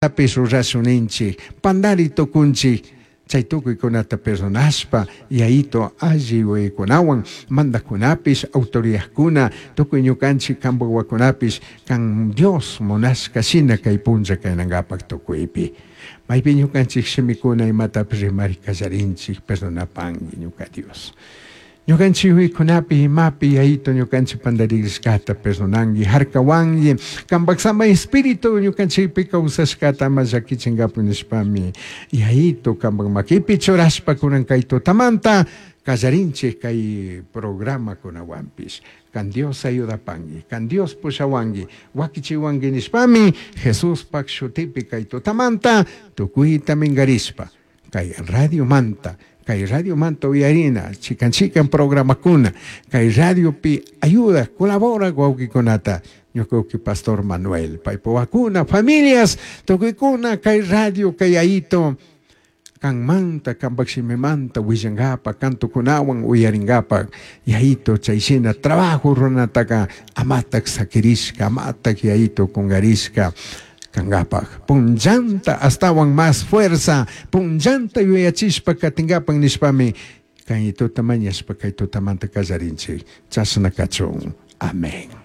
Imatapish rurashun ninchij, pandari tucunchij. Chai tucuicunata perdonashpa, Yayato alli yuyaicunahuan mandajcunapish, autoridadcuna, tucui ñucanchij cambaj huahuacunapish can Dios munashca shina cai punlla cainangapaj tucuipi. Maipi ñucanchij shimicuna imatapish rimari callarinchij, perdonapangui ñuca Dios. Ñucanchij yuyaicunapi imapi Yayato ñucanchij pandarishcata perdonangui, jarcahuangui, cambaj Samai Espíritu ñucanchijpi causashcata ama llaquichingapaj nishpami Yayato cambaj maquipi churashpa cunan cai tutamanta callarinchij cai programacunahuanpish. Can Dios ayudapangui, can Dios pushahuangui, huaquichihuangui nishpami Jesuspaj shutipi cai tutamanta tucuita mingarishpa cai radiomanta, cai radiomanta uyarina chican chican programacuna, cai radiopi ayuda, colabora huauquicunata, ñuca huauqui Pastor Manuel, paipa huahuacuna, familias, tucuicuna cai radio, cai Yayato, canmanta, cambaj shimimanta huillangapaj, cantocunahuan uyaringapaj, Yayato chai shina trabajo ruranataca amataj saquirishca, amataj Yayato cungarishca cangapaj. Punllanta ashtahuan más fuerza, punllanta yuyachishpa catingapaj nishpami, cai tuta mañashpa cai tutamanta callarinchij. Chashna cachun. Amén.